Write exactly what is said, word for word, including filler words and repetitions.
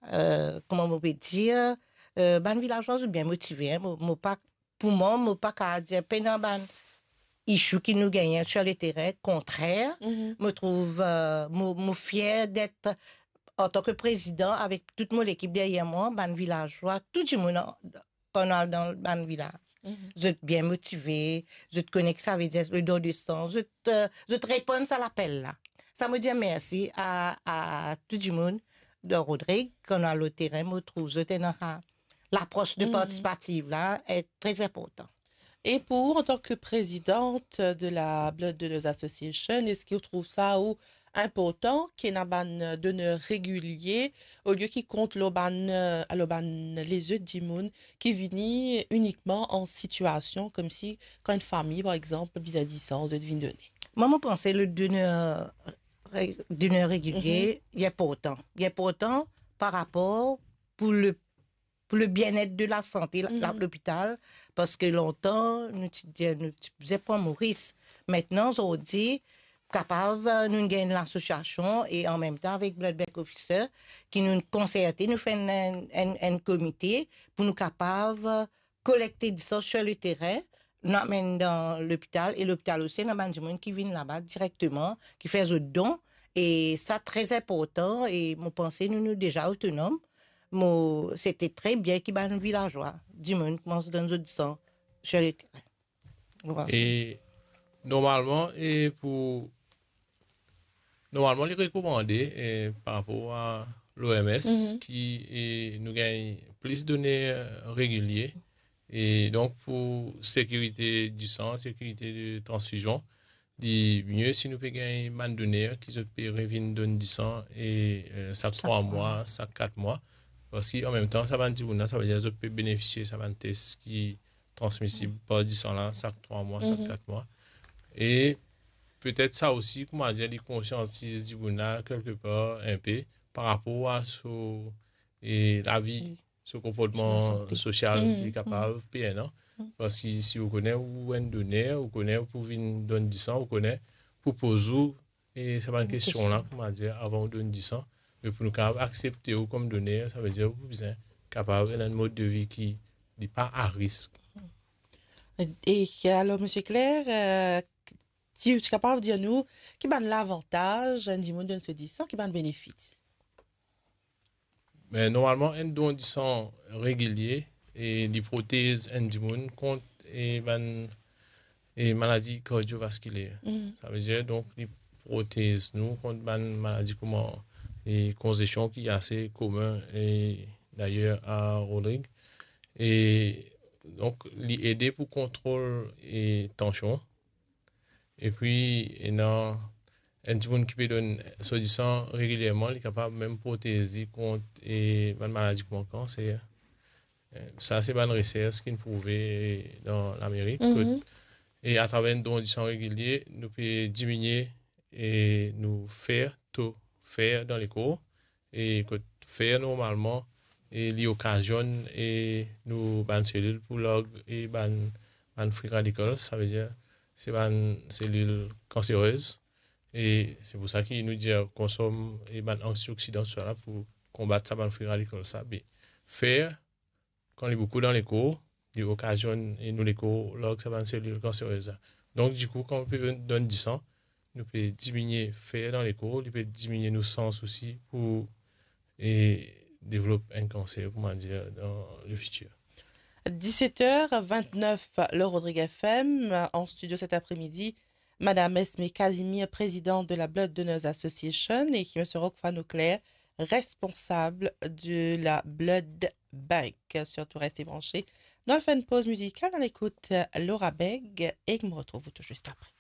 euh, kouma mo pe dir, euh, bann vilazwa zot bien motive, hein. Mo, mo pa, pou mwa, mo pa kapav dir pena bann issue ki nou gagne sur le terrain, kontrer, mo trouv, euh, mo, mo fier d'être, en tant que président, avec tout mo lekip deryer mwa, bann vilazwa, tou dimoun an, kan nou al dan bann vilaz. Zot bien motive, zot kone ki savedir le don de san, zot, euh, zot reponn sa lapel la. Sa mo dir mersi a, a tou dimoun dan Rodrig, kan nou al o terin, mo trouv zot ena lapros de partisipativ la, e tre inportan. Et pour, en tant que présidente de la Blood Donors Association, eski ou trouv sa ou inportan ki ena bann doner regilie, olie ki kont lor bann, euh, lor bann lezot dimoun ki vini inikman an sitiasion koumsi kan enn fami, par exanp, bizin disan, zot vinn done? Mwa, mo panse le doner re-, doner regilie, li inportan. Li inportan par rapor pou le, pou le bien-être de la santé, la, la, lopital, parski lontan, nou ti dir, nou ti bizin pran mo risk. Mintnan, zordi, kapav, nou gagn lasosiasion e an mem tan avek Blood Bank Officer, ki nou konserte, nou fer enn, enn, enn, enn komite pou nou kapav kolekte disan sur le terrain, nou amenn dan lopital, e lopital osi, ena bann dimoun ki vinn laba direkteman, ki fer zot don, e sa tre inportan, e mo panse nou, nou deza otonom. Mo, sete tre bien ki bann vilazwa, dimoun koumans donn zot disan sur le terrain. Voilà. E normalman, e pou, normalman, li rekomande, e par rapor a l'O M S, ki, e nou gagn plis doner regilie. E donk, pou sekirite disan, sekirite de transfizion, li mie si nou pe gagn bann doner ki zot pe revinn donn disan, e, e, sak trwa mwa, sak kat mwa. Parski an mem tan, sa bann dimoun la, savedir zot pe benefisie sa bann tes ki transmisib par disan la, sak trwa mwa, sak kat mwa. E petet sa osi, kouma dir, li konsiantiz dimoun la kelkepar inpe par rapor a so, e lavi, so konportman sosial ki li kapav pe ena. Parski si ou kone ou enn doner, ou kone ou pou vinn donn disan, ou kone pou poz ou e sa bann kestion la, kouma dir, avan ou donn disan, me pou nou kapav aksepte ou kom doner, savedir ou pou bizin kapav ena enn mod de vi ki li pa a risk. E alor, Misie Claire, euh, ti, ti kapav dir nou ki bann lavantaz enn dimoun donn so disan, ki bann benefis? Me normalman, enn don disan regilie, e li protez enn dimoun kont, e bann, e maladi kardiovaskiler. Savedir, donk, li protez nou kont bann maladi kouma, e konzesion ki ase komin, e dayer a Rodrig. E donk, li ede pou kontrol, e tansion. Epi, ena enn dimoun ki pe donn so disan regilierman, li kapav mem protez li kont, e, bann maladi kouma kanser. E, sa se bann resers ki'nn prouve dan Lamerik, kot, e, atraver enn don disan regilie, nou pe diminie, e, nou fer, to fer dan lekor. E kot fer normalman, e li okazionn, e nou bann selil pou larg, e bann, bann free radicals, savedir se bann selil kanserez. E se pou sa ki nou dir konsom, e bann antioksidan, tousala pou konbat sa bann free radicals sa. Be fer, kan li boukou dan lekor, li okazionn, e nou lekor larg sa bann selil kanserez la. Donk, dikou, kan nou pe donn disan, nou pe diminie fer dan lekor, li pe diminie nou sans osi pou, e, devlop enn kanser, kouma dir, dan le fitir. Dix-sept heures vingt-neuf, le Rodrig F M, en studio cet après-midi, Madame Esme Casimir, présidente de la Blood Donors Association, et Monsieur Rockfan Auclair, responsable de la Blood Bank. Surtout, restez branchés. Nou al fer enn poz mizikal, nou al ekout Laura Beg, e nou retrouve tout juste après.